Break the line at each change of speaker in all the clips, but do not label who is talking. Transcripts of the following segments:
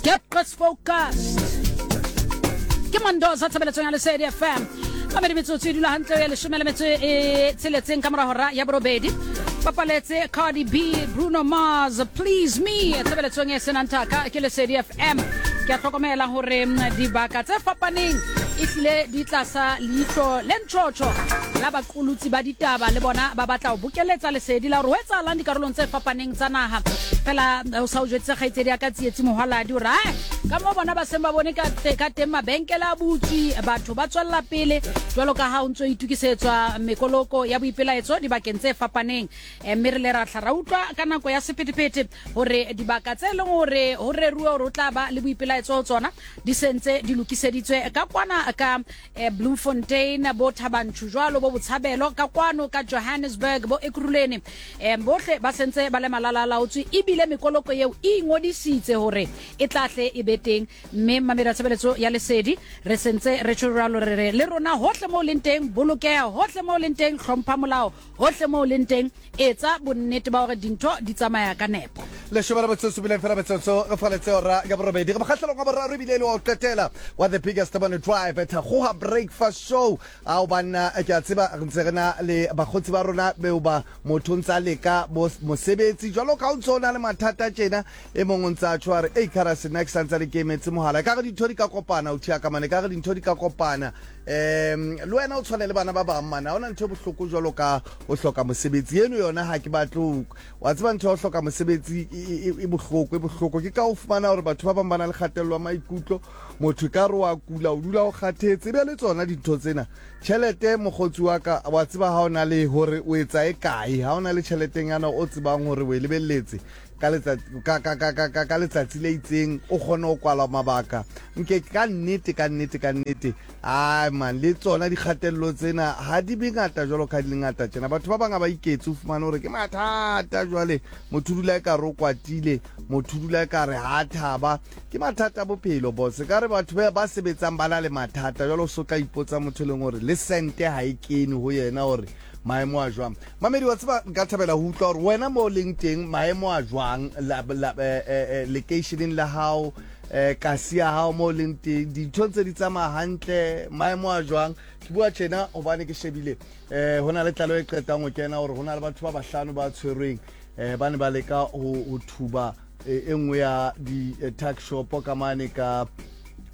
Get focused. Ke Mandoza tshebeletsong ya Lesedi FM. Mamedi metsotso e dula hantle ya leshome le metso e tsheletseng ka mora hora ya borobedi. Bapaletse Cardi B, Bruno Mars, Please Me tshebeletsong e senang thaka ke Lesedi FM. Ke a hlokomela hore dibaka tse fapaneng e hlile di tlasa leihlo le ntjhotjho la baqolotsi ba ditaba le bona ba batla ho bokeletsa lesedi la hore ho etsahalang dikarolong tse fapaneng tsa naha. Fela o sa o jwetse kgaitsedi ya ka Tsietsi Mohwaladi hore ae ka moo bona ba seng ba bone ka ka teng mabenkele a butswe, batho ba tswella pele jwalo ka ha ho ntso itokisetswa mekoloko ya boipelaetso dibakeng tse fapaneng. Mme re le ra hla ra utlwa ka nako ya sephethephethe hore dibaka tse leng hore ho reruwe hore ho tla ba le boipelaetso ho tsona di sentse di lokiseditswe ka kwana ka Bloemfontein, bo Thabanchu jwalo, bo Botshabelo ka kwano ka Johannesburg, bo Ekurhuleni, bohle ba sentse ba le malalalaotswe ebile mekoloko eo e ingodisitse hore e tla hle e be teng. Mme mamedi wa tshebeletso ya Lesedi, re sentse re tjho jwalo re re le rona hohle moo leng teng bolokeha, hohle moo leng teng hlompha molao, Hohle moo o leng teng, etsa bonnete ba hore dintho di tsamaya ka nepo.
Leshome la metsotso bileng fela metsotso re faletse ora ya borobedi re mokgahlelong wa boraro ebile e le wa ho qetela wa The Biggest Morning Drive Thakgoha Breakfast Show. Ao banna, ke a tseba re ntse re na le bakgotsi ba rona beo ba motho o ntse a leka mosebetsi jwalo ka o ntse o na le mathata tjena. E mong o ntse a tjho a re, Ei Kharase, nna ke sa ntsane ke emetse mohala. Ekare dintho di ka kopana, o thiaka mane, ekare dintho di ka kopana. Um le wena o tshwane le bana ba bang mane, ha hona ntho e bohloko jwalo ka ho hloka mosebetsi. Eno yona ha ke batle ho, wa tseba ntho ya ho hloka mosebetsi e bohloko, e bohloko. Ke ka o fumana hore batho ba bang ba na le kgatello ya maikutlo, motho ekare wa kula, o dula o kgathetse. Ebe le tsona dintho tsena. Tjhelete mokgotsi wa ka, wa tseba ha o na le hore o etsa e kae, ha o na le tjheletenyana o tsebang hore o e lebelletse, ka letsatsi ka ka ka ka ka letsatsi le itseng o kgone ho kwala mabaka nke ka nnete ka nnete ka nnete ai man le tsona dikgatello tsena ha di be ngata jwalo ka di le ngata tjena. Batho ba bang ha ba iketse, o fumane hore ke mathata jwale, motho o dula e ka re o kwatile, motho o dula e ka re ha thaba, ke mathata a bophelo boss. Ka re batho ba sebetsang ba na le mathata jwale, o so tla ipotsa motho e leng hore le sente ha e kene ho yena hore maemo a jwang. Mamedi, wa tseba nka thabela ho utlwa hore wena mo o leng teng maemo a jwang lekeisheneng la hao, kasi ya hao mo o leng teng, dintho ntse di tsamaya hantle, maemo a jwang. Ke bua tjena hobane ke shebile ho na le tlaleho e qetang ho kena hore ho na le batho ba bahlano ba tshwerweng, ba ne ba leka ho thuba e nngwe ya di-tuck shop ka mane ka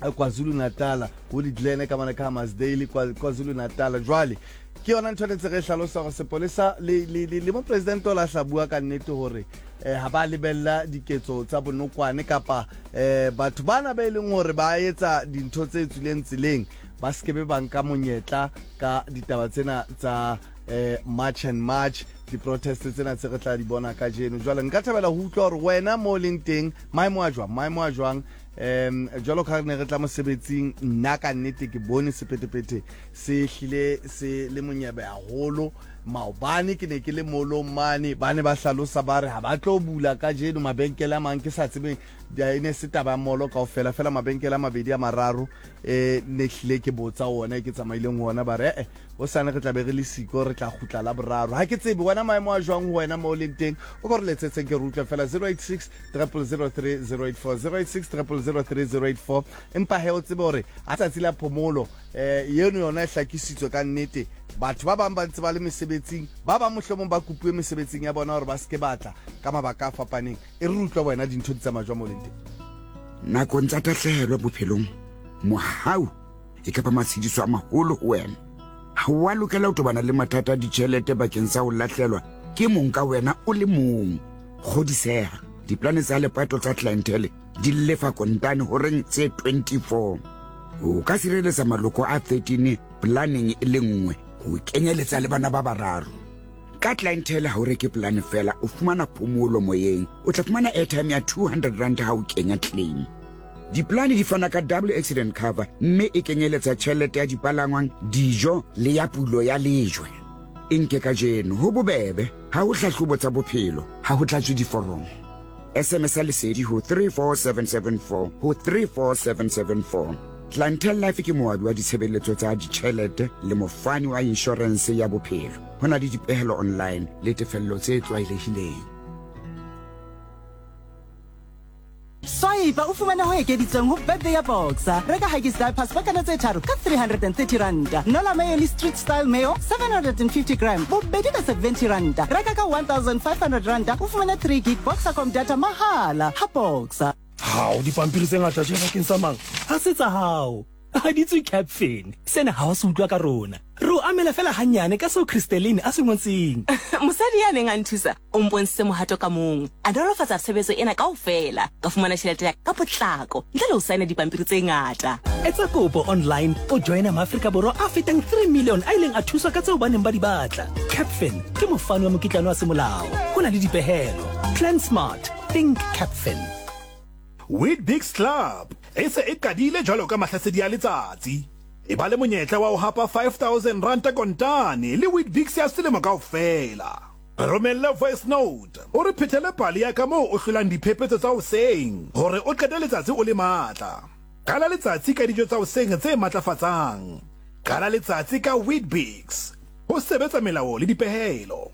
KwaZulu-Natal, ho di-Glen ka mane ka Hammarsdale, KwaZulu-Natal. Jwale ke yona ntho ne ntse re hlalosa hore sepolesa le le le, le mopresidente o la hla bua ka nnete hore ha ba lebella diketso tsa bonokwane kapa batho bana ba e leng hore ba etsa dintho tse tswileng tseleng ba sekebe ba nka monyetla ka ditaba tsena tsa March and March, di-protest tsena tse re tla di bona kajeno. Jwale nka thabela ho utlwa hore wena mo leng teng maemo a jwang, maemo a jwang. Jwalo ka re ne re tla mosebetsing, nna ka nnete ke bone sephethephethe se hlile se le monyebe haholo. Maobane ke ne ke le molong mane, ba ne ba hlalosa ba re ha ba tlo bula kajeno mabenkele a mang, ke sa tsebeng e ne se taba ya molo kaofela, fela mabenkele a mabedi a mararo e ne hlile ke botsa ona e ke tsamaileng ho ona, ba re eh hosane re tla be re le siko, re tla kgutla la boraro. Ha ke tsebe wena maemo a jwang ho wena mo o leng teng, o ka re letsetseng ke re utlwe fela 086 000 3084, 086 000 3084. Empa he o tsebe hore ha tsatsi la phomolo eno yona e hlakisitswe ka nnete, batho ba bang ba ntse ba le mesebetsing, ba bang mohlomong ba kopuwe mesebetsing ya bona hore ba se ke batla ka mabaka a fapaneng. E re utlwa wena dintho di tsamaya jwang mo leng teng.
Nakong tsa tahlehelo bophelong, mohau e ka ba matshediso a maholo ho wena. Ha o a lokela ho tobana le mathata a ditjhelete bakeng sa ho lahlelwa ke mong ka wena o le mong. Kgodiseha, diplane tsa lepato tsa Clientele di lefa kontane horeng tse 24. O ka sireletsa maloko a 13 planeng e le nngwe, ho kenyeletsa le bana ba bararo. Ka Clientele ha o reke polane fela, o fumana phomolo moyeng. O tla fumana airtime ya 200 rand ha o kenya claim. Diplane di fana ka double accident cover mme e kenyeletsa tjhelete ya dipalangwang, dijo le ya pulo ya lejwe. E nke kajeno, ho bobebe, ha ho hlahlobo tsa bophelo, ha ho tlatswe diforomo. SMS ya Lesedi ho 34774 ho 34774. Clientele Life ke moabi wa ditshebeletso tsa ditjhelete le mofani wa inshorense ya bophelo. Ho na le dipehelo online le tefello tse tlwaelehileng.
Thepa o fumane ho ekeditsweng ho birthday ya Boxer. Reka Huggies diapers pakana tse tharo ka 330 ranta. Nola mayo le Street Style mayo 750 gram bobedi ka 70 ranta. Reka ka 1500 ranta o fumane 3 gig Boxercom data mahala ha Boxer.
Hao, dipampiri tse ngata tje bakeng sa mang? Ha se tsa hao. Ha di tswe Capfin. Sena ha o se utlwa ka rona. Re o amela fela hannyane ka seo Christeline a se ngotseng.
Mosadi ya neng a nthusa o mpontshitse mohato ka mong. A nolofatsa tshebetso ena kaofela. Ka fumana tjhelete ya ka potlako ntle le ho saena dipampiri tse ngata.
Etsa kopo online o joina Maafrika Borwa a fetang 3 million a ileng a thuswa ka tseo ba neng ba di batla. Capfin ke mofani wa mokitlane wa semolao. Ho na le dipehelo. Plan smart. Think Capfin.
Weet-Bix Club e se e qadile jwalo ka mahlasedi a letsatsi. E ba le monyetla wa ho hapa R5000 kontane le Weet-Bix ya selemo kaofela. Re romelle voice note o re phethele pale ya ka moo o hlolang diphephetso tsa hoseng hore o qete letsatsi o le matla. Qala letsatsi ka dijo tsa hoseng tse matlafatsang. Qala letsatsi ka Weet-Bix. Ho sebetsa melao le dipehelo.